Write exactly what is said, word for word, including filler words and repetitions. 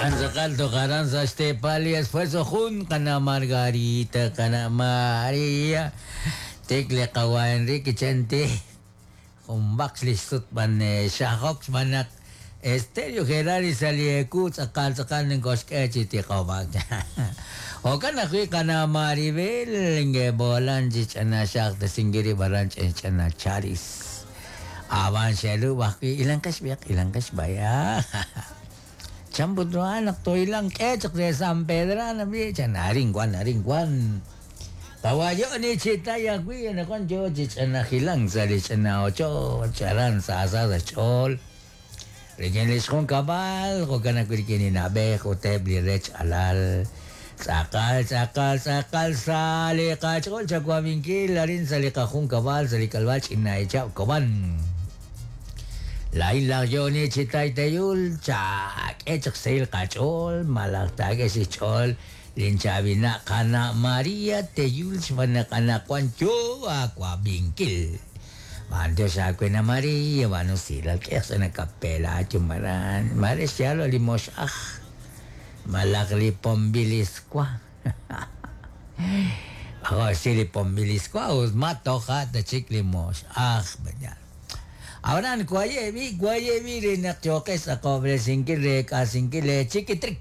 Anzaqal toqaran sa xtepal y esfuerzo jun qana Margarita qana María tekle qawa Enrique Chente jun baq lixsut ban xajok xb'anaq Estéreo Gerari salieku tz'aqal tz'aqal ninkoxk'e chi tiqob'ak Jo'kan ajwi' qana Maribel ngebolan chi ch'ana xaj tesingiri baran ch'en ch'ana charis Aban xelu bajwi ilanqex biaq ilanqex baya Champutruan toilang k'e de San Pedro bi chan arin wan arin wan Tawayo ni chitaya wi na kwan yo chi ch'ana jilang sa li ch'ana ocho charan sa sa sa ch'ol Rik'in li xjun kab'al jo'kan ajwi' rik'in li na'b'ej uteb' li rech alal tz'aqal tz'aqal tz'aqal sa li qach'ool chakuabinkil arin sa li qajun kab'al sa li kalb'al ch'ina ichab' kob'an La isla yoni chitay teyul chak echaq sil qach'ol malaq takex ich'ol linchabina qana María teyul xb'anaq anaqwan yo akuabinkil Mandio xakwena María banu silal k'ex na kapela chumaran mare xyalo limoxaj malaq li pombilisqua Ako sili pombilisqua us matoja tachik limoxaj bañal Ahora kuayebi kuayebi rinaq choqes aqobresinkil rek'asinkil chiquitrix